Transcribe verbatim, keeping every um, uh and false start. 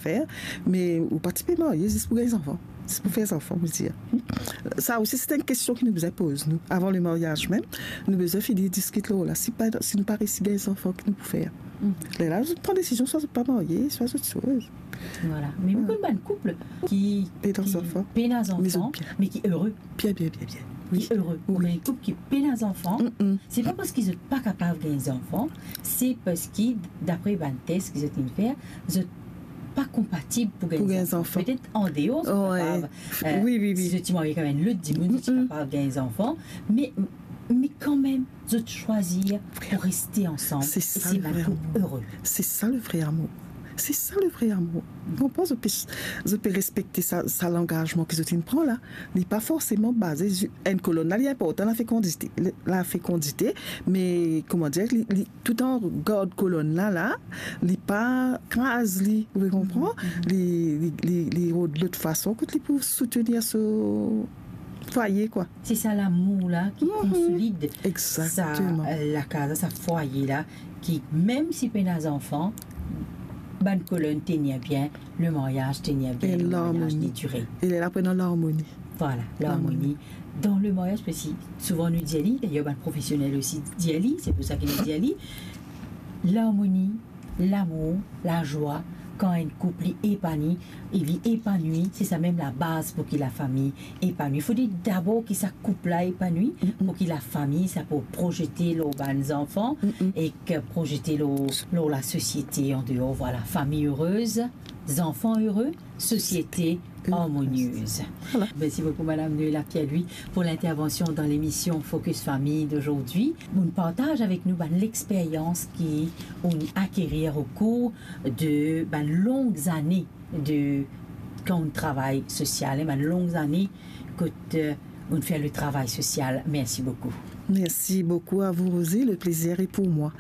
fer, me ou pa ti pe marye zis pou gagn zanfan, zis pou fer zanfan, mo dir. Sa osi, se enn kestion ki nou bizin poz nou. Avan lemaryaz mem, nou bizin fini diskit lor la. Si pa, si nou pa resi gagn zanfan, ki nou pou fer? Lerla, zot pran desizion, swa zot pa marye, swa zot soz. Vwala. Me mo konn bann koup ki, Pena ki zanfan. Pena zanfan, Me zot bien. Me ki ere. Bien, bien, bien, bien. Ki ere. Wi. Ou gagn koup ki pena zanfan, Mm-mm. se pa parski zot pa kapav gagn zanfan, se parski, dapre bann tes ki zot inn fer, zot pa konpatib pou gagn Pou gagn zanfan. zanfan. Petet andeor, zot Wi. kapav, eh, Wi, wi, wi. si zot ti marye ek enn lot dimoun, zot ti Mm-mm. kapav gagn zanfan, me, me kanmem, zot swazir pou reste ansam. Se E sa se le bann vre koup amour. ere. Se sa le vre amour. Se sa le vre amour. Ou konpran, zot pe, zot pe respekte sa, sa langazman ki zot inn pran la. Li pa forseman baze sur enn kolonn la, li inportan, lafekondite, lafekondite, me, kouma dir, li, li, toutan gard kolonn la, la, li pa kraz li, ou konpran? Mhm. Li, li, li, li rod lot fason kot li pou soutenir so fwaye, kwa. Se sa lamour la ki Mhm. konsolid Exactement. sa, eh, lakaz la, sa fwaye la, ki mem si pena zanfan, bann kolonn tenir bien, lemaryaz tenir bien, E lemaryaz larmoni. li dire. E lerla pou ena larmoni. Vwala, larmoni. Larmoni. Dan lemaryaz, parski souvan nou dir li, dayer bann profesionel osi dir li, se pou sa ki nou dir li, larmoni, lamour, lazwa, kan enn koup li epani, e li epanwi, se sa mem labaz pou ki lafami epanwi. Fode dabor ki sa koup la epanwi, Mm-mm. pou ki lafami, sa pou projete lor bann zanfan, Mm-mm. ek projete lor, lor lasosiete andeor. Vwala, fami erez, zanfan ere, sosiete Erez. armoniez. Vwala. Mersi boukou, Madam Noëlla Pierre-Louis, pou lintervansion dan lemision Focus Famille dozordi. Ou partaz avek nou bann lexperyans ki ou akerir okour de bann long zane de, kan ou travay sosial, hein, bann long zane kot, euh, ou fer le travay sosial. Mersi boukou. Merci beaucoup à vous, Rosie. Le plaisir est pour moi.